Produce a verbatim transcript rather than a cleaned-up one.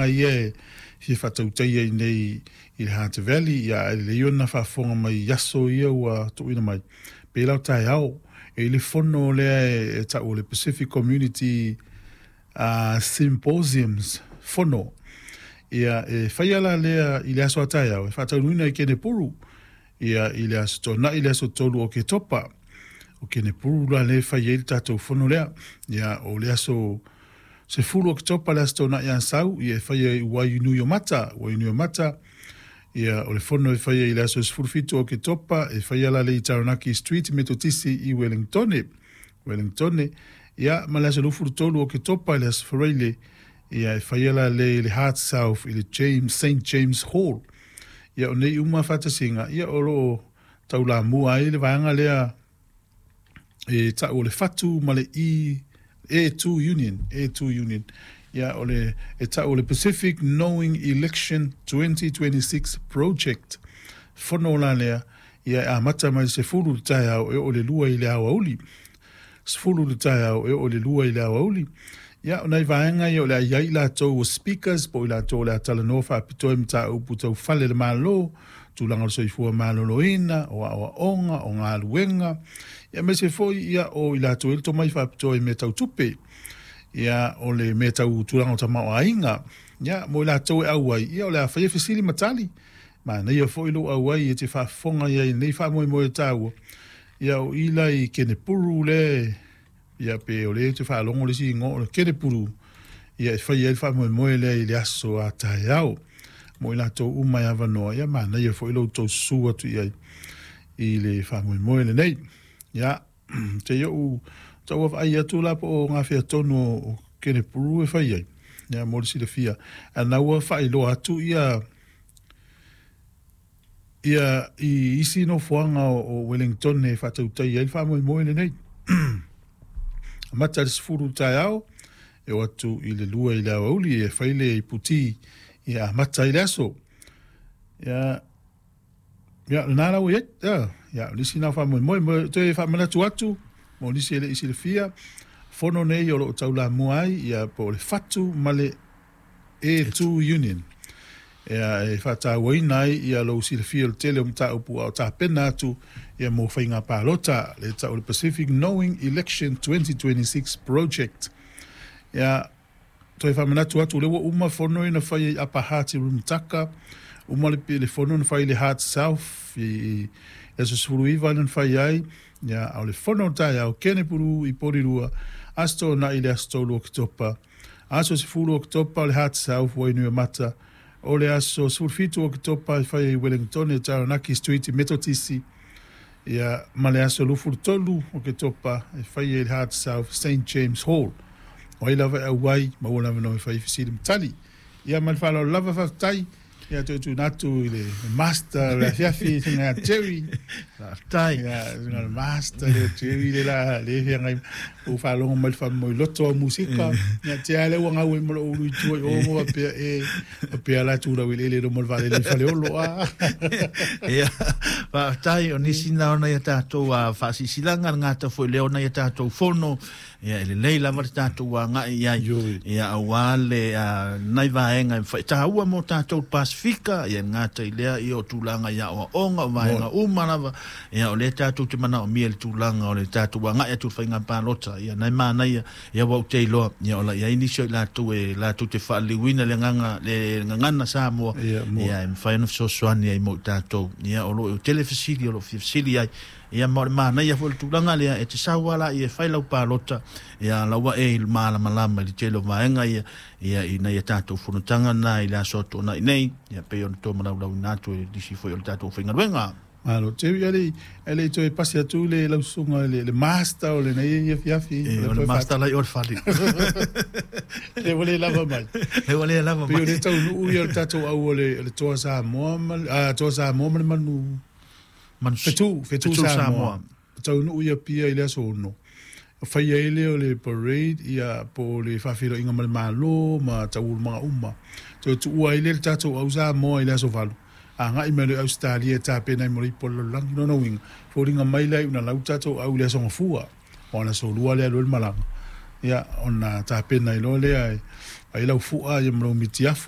vaega ia e fia faatautaia i nei i le Hutt Valley. Ia e lelei ona faafofoga mai i aso ia ua tuuina mai pe lau taeao e i le fono lea e, e tau o le Pacific Community uh, Symposiums fono. Ia e faia la lea i le aso a taeao e faataunuina i Kenepuru ia i le aso Toonai, le aso tolu o Ketopa. O Kenepuru la le fai ai le tatou fono lea. Ia o le aso sefulu o Ketopa, le aso Toonai a sau, ia e faia i Wainuiomata, Wainuiomata. Ia o le fono e faia i le aso sefulu fitu o Ketopa e faia la le i Taranaki Street Metotisi i Wellingtone. Wellingtone. Ia ma le aso luafulu tolu o Ketopa, le aso Faraile, ia e faia la le i le Hutt South i le James, Saint James Hall. Ia o nei uma faatasiga ia o loo taulamua ai le vaega lea e tau o le Fatu ma le E A two Union, A two Union. Ia o le e tau o le Pacific Knowing Election twenty twenty-six Project. Fono la lea ia e amata mai se fulu le taeao e oo le lua i le aoauli. Sefulu le taeao e oo le lua i le aoauli. Ia o nai vaega ia o le ai ai latou o speakers po o i latou o le a talanoa faapitoa i mataupu tau fale le Malo, tulaga o le soifua maloloina, o aoaoga, o galuega. Ia aemaise foi ia o i latou e le tomai faapitoa i mea tau tupe. Ia o le mea tau tulaga o tamaoaiga. Ia mo i latou e auai, ia o le a faia fesili ma tali. Manaia foi lou auai e te faafofoga i ai nei faamoemoe taua. Ia o i la i Kenepuru le ia pe o le te faalogo le isi igoa o le Kenepuru ia e fai ai le faamoemoe lea i le aso a taeao. Mo i latou uma e avanoa, ia manaia foi lo outou susu atu i ai i le faamoemoe lenei. Ia, te i ou tau vaai atu la po o ngā tonu o Kenepuru e fai ai. Ia mo le silafia. A ua faailoa atu ia ia i isi nofoaga o, o Wellington e faatautai ai le faamoemoe lenei. Amata le sefulu taeao e o atu i le lua i le aoauli e fai le iputi ia amata ai le aso. Ia ia lena lau ia ia ia o nisi na faamoemoe mo toe faamanatu atu mo nisi e le i silafia fono nei o loo taulamua ai ia po o le Fatu ma le A two Union. Ia e faatauaina ai ia lou silafia o le tele o mataupu a o tapena atu ia mo faiga palota le tau o le Pacific Knowing Election twenty twenty-six Project. Ia toe faamanatu atu le ua uma fono ina fai ai Upper Hutt i Rimutaka, uma le, le fono na fai i le Hutt South i i aso sefulu iva na fai ai. Ia o le fono o taeao Kenepuru i Porirua, aso Toonai le aso tolu o Oketopa. Aso sefulu o Oketopa o le Hutt South Wainuiomata. O le aso sefulu fitu o Oketopa e fai ai Wellington e Taranaki Street i Metotisi. Ia ma le aso luafulu tolu o Ketopa e fai ai le Hutt South Saint James Hall. O ai lava e auai, maua lava no e fai fesili ma tali. Ia ma le faaaloalo lava, faafetai. Ia toe tuuina atu i le master o le afiafi suga Jerry. Faafetai. Ia suga le master le Jerry le la le feagai ua faalogo mai le faamoemoe loto o musika. Ia te a le ua gau ai ma lou ulu i tua i o mo faapea e faapea la tulau i le ele mo le vaalele i Faleolo a. Ia, faafetai o nisi na ona ia tatou a faasisilanga le gata foi lea ona ia tatou fono. Ia, e lelei lava le tatou agai i ai. Ioe. Ia, auā le a, nai vaega e faitaua mo tatou Pasifika, ia le gata i lea ia o tulaga i aoaoga o vaega uma lava. Ia, o lea tatou te manaomia le tulaga o le tatou agai atu i le faiga palota. Ia, nai manaia, ia ua ou te iloa, ia o la i ai nisi o i latou e latou te faaliliuina le agaga le gagana Samoa. Ia, mo. Ia, e mafai ona fesoasoani ai mo i tatou. Ia, o loo tele fesili o loo fia fesili ai. Ia, ma o le manaia foi le tulaga lea e te sau ala ia e fai lau palota ia laua e malamalama i le tele o vaega ia ia ina ia tatou fonotaga na i le aso Toonai nei ia pei ona tomalaulauina atu e nisi foi o le tatou faigaluega. Malo Jerry, ale ale toe pasi atu le lausuga le, le master o lenei afiafi. E, o le master lai o le fale. Le ua le lava mai. E ua le lava Pe o mai. Le taunuu ia o le tatou au o le, o le Toa Samoa ma le- ah, Toa Samoa ma le manu Manu Fetu, Fetu, Fetu Samoa. Samoa. Taunuu ia pia i le aso ono. Fai ai lea o le parade ia po o le faafeiloaiga ma le Malo ma taualumaga uma. Toe tuua ai lea le tatou au Samoa i le aso valu. Agai mai le Australia e tapena ai mo le ipu o le lalolagi. Lona uiga, foliga mai lea una lau tatou au i le aso Gafua. O le aso lua lea alu ai le malaga. Ia, ona tapena ai loa lea e ai lau fua ia ma lau mitiafu.